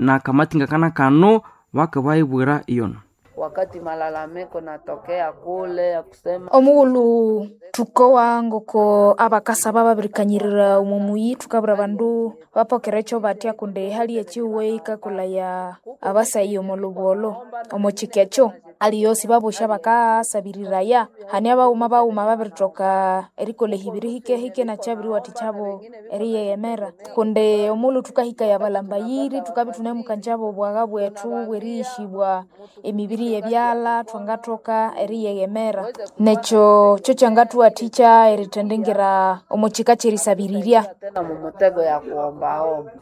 Nakamatinga kana kano bakabayibwira iyono. Wakati malalamiko natokea kule ya kusema Omughulhu thukowa ngoko abakasaba babirikanyirira omwa muyi, thukabwira abandu bapokere ekyo batya kundi ehali ekyihugho eyikakolhaya abasayi omo lhubolho. Omo kyika ekyo aliwe sibabosi abakasabiriraya. Hane abaghuma baghuma babirithoka erikolha ehibiri hikehike nakyabiriwathikyabo eriyeghemera. Kundi omughulhu thukahikaya abalhambayiri thukabya ithunemukanjabo obwagha bwethu bweriyishibwa emibiri yebyalha thwangathoka eriyeghemera. Nekyo kyokyangathuwathikya erithendingira omo kyika kyerisabirirya. Tena mumutego ya kuombaomba.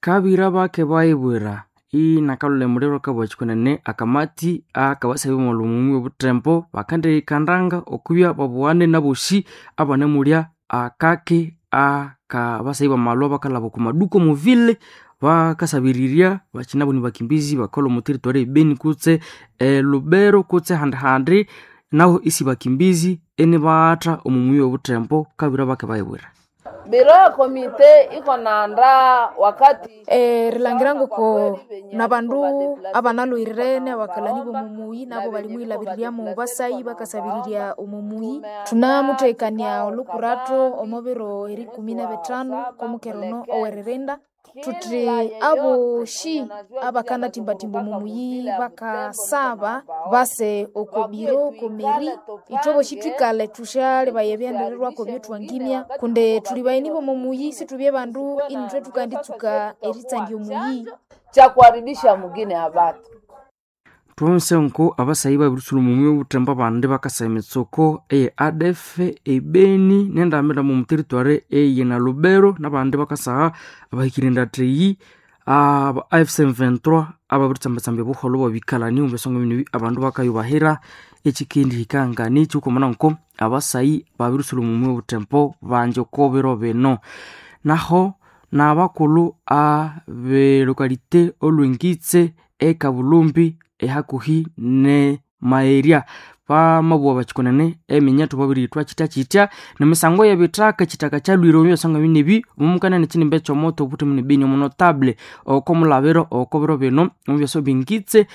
Kabira bake bayibwira inakalolha emuliro kabwa kyikunene akamati akabasayi b'omulhumumi w'obuthembo bakandiyikandanga okubya babughane nabosi abanemulya akaki akabasayi bamalwa bakalhaba oku maduka omuvile bakasabirirya bakyinabo nibakimbizi bakalhwa omu territory ebeni kutse elubero kutse handihandi nahu isi bakimbizi inibatha omu muyi w'obuthembo. Kabira bake bayibwira. Biro ya komite iko naandaa wakati Erilangira ngoko nabandu abanalhwirene abakalhani b'omo muyi nabo balimuyilhabiriryamu basayi bakasabirirya omo muyi. Thunamuthekania olhukuratho omo biro erikumi nebithanu kw'omukera ono ow'eririnda. Thuthi abosi abakanathimbathimba omo muyi bakasaba base oko biro oko meri. Ithwe bosi thwikalhe thusyalebaya ebyendererwako ebyathwangimya kundi thuli bagheni b'omo muyi sithubye bandu inithwe thukanditsuka eritsandya omuyi. Cha kuharibisha mugine ya batu. Thwonse nko abasayi babirisulha omu muyi w'obuthembo abandi bakasaya emitsuko eye ADF ebeni nendambira omu territory eye na Lubero nabandi bakasaha abahikire endatha aba AFC M23 ababiritsamba-tsamba obuholho bw'ebikalani omu byasonga bino abandu bakayubahira ekyikendihika nganichi okwamana nko abasayi babirisulha omu muyi w'obuthembo bangi oko biro bino. Naho nabakulhu abelokalite olwengitse ekabulumbi ehakuhi ne maerya bamabugha bakikonene eminyethu babirithwa kyitya-kyitya nemisango y'ebithaka ekyithaka kyalhwire omu byasonga binebi omumukana nekyinimba ekyomoto obuthemu nebeni omunotable oko mulabiro oko biro bino omu byasa bingitse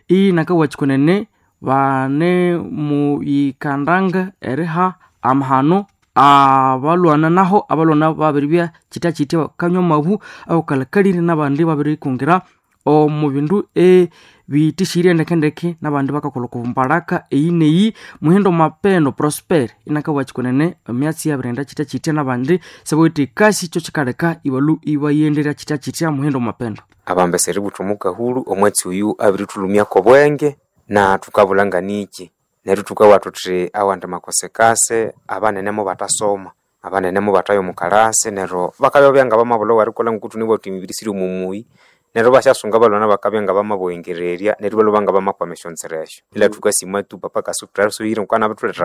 inakabugha kikonene bane muyikandanga eriha amahano abalwana naho abalwana babiribya kyitya-kyitya bakanywa amabu awukalhakalire nabandi babirikungira omu bindu ebithishirye ndekendeke nabandi bakakolha oko mbalaka eyi neyi. Muhindo Mapendo Prosper inakabugha kikonene emyatsi yabirinda kyitya-kyitya nabandi sibawithe ekasi kyo kyikaleka ibalhu ibayendera kyitya-kyitya. Muhindo Mapendo. Abambesa eributha omukahulhu omwatsi oyu abirithulhumyako obwenge na thukabulha nganiki neryo thukabugha thuthi awandi makosekase abanene mubathasoma, abanene mubathaya omu kalasi neryo bakabya ngabamabulha owerikolha ngoku thunabugha thuthi emibiri siri omu muyi neryo ibasyasunga abalwana bakabya ngabamabughengererya neryo ibalhwa ngabamakwama esyonzira esyo. Ila thukasima tu papa kasuthaswire ngoko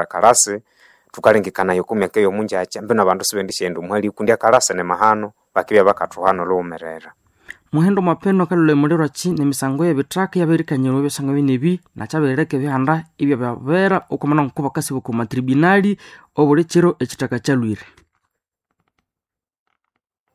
kalasi thukalengekanaya oko myaka eyomungyakya mbino abandu sibendisyaghenda omuhali kundi akalasi nimahano bakibya bakathuhana olhughumerera. Muhindo Mapendo akalholha emuliro akyi nemisango y'ebithaka eyabirikanyirwa ebyasonga binebi nakyabirileka ebihanda ibyabyabera okwamana ngoko bakasiba oko matribunali obuli kiro ekyithaka kyalhwire.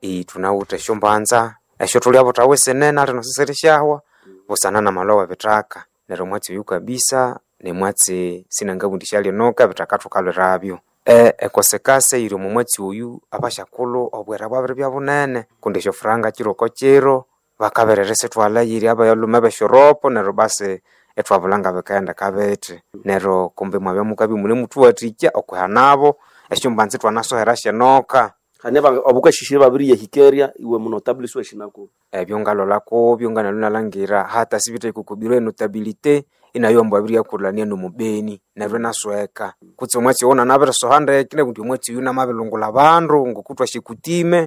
Thunawithe esyombanza esyo thulyabuthawa esinene alino sisirisyahwa busana namalhwa webithaka neryo omwatsi oyu kabisa nimwatsi sinangabugha indi syalinoka ebithaka thukalhwirabyo. Ekosekase eyiri omo mwatsi oyu abasyakulhu obwira bwabiribya bunene kundi esyofuranga kiro oko kiro bakabiririsithwalha eyiri abalhume besyoropo neryo basi ithwabulha ngabikaghendeka bithi neryo kumbi mwabya mukabya imunemuthuwathikya okwihanabo esyombanza ithwanasohera syenoka. Hane abukashisire babiriyahikeria iwe munotable siwashinako. Ebyo ngalholha kubyo nganalwe inalhangira hata sibithaika oko biro enotabilite inayo ambu abiriyakulhania nomubeni neryo inasweka kutse omwatsi owo nanabirisoha ndeke inabugha indi omwatsi oyu namabilungulha abandu ngoku thwasyakutime.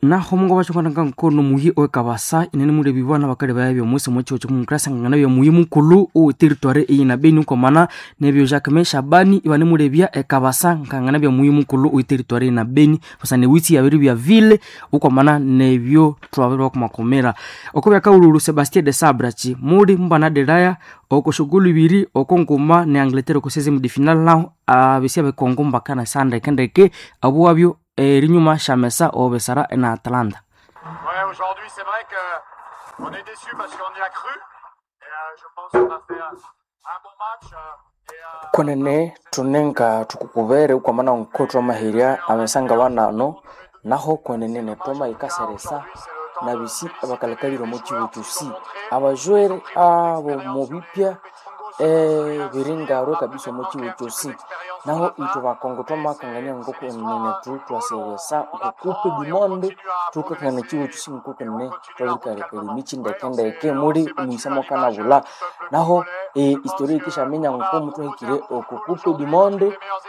Naho mungo bakyongana nkono muyi owekabasa inane mulebibwa nabakali baya byomusi omukihugho kyomukras ngangana byomuyi mukulhu owe territory eyina Beni okwamana nebyo Jacquemain Shabani ibanemulebya ekabasa ngangana byomuyi mukulhu owe territory eyina Beni busana ewitsi yabiribya vile okwamana nebyo thwabiribakumakumira. Oko byakahulhulhu Sebastien de Sabre akyi muli mubanadelaya oko shughuli ibiri oko nguma ne Angleterre oko seizième de finale naho abesya bekongo mbakanasa ndekendeke abuwabyo erinyuma syamesa obesara ena Atlanta. Ouais, aujourd'hui, c'est vrai que On est déçu parce qu'on y a cru. Et je pense qu'on a fait un bon match. Kwenene thunenga thukukubere ukwamana nko twamaherya amesanga banano naho kwenene netwamayikaseresa nabisi abakalikalire omo kibu kyosi abajwere abo mubipya biringarwe kabisa omo kibu kyosi naho ithwe bakongo twamakangania ngokwenene thu twaseresa okukupe dimonde thukakangana ekibu kyosi ngokwenene twabirikalekala emikyi ndekendeke muli omwisa mwakanabulha naho historia yikishaminya ngoko muthwahikire okukupe dimonde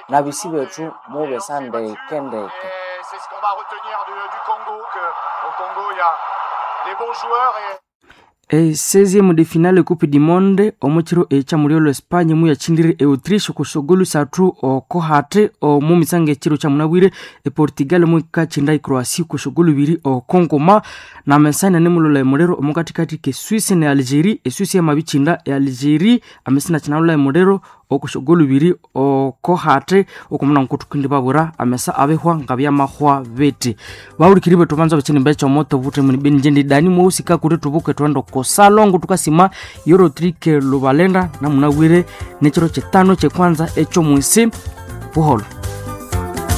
nabisi bethu mubesa ndekendeke. C'est ce qu'on va retenir du Congo, que au Congo il y a des bons joueurs et E 16e de finale Coupe du Monde omukiro ekyamulio Espagne muyakindire e Autriche kushogolu sathu okohate omu misanga ekiro kyamunabwire e Portugal mukachinda e Croatia kushogolu biri okongoma na mesana nemulola emulero omukatikati ke Suisse ne Algerie e Suisse yamabichinda e Algerie amesina chinalola emulero okushogolu biri okohate okumuna nkutukindi babura amesa abehwa ngabyamahwa beti bawulikiri betu banza bachini becha moto bute muni benjendi dani mwusika kuti tubuke twendo kosalongo tukasima yorotrike lubalenda namunabwire nekiro kyetano kyekwanza ekyo mwisi buholo.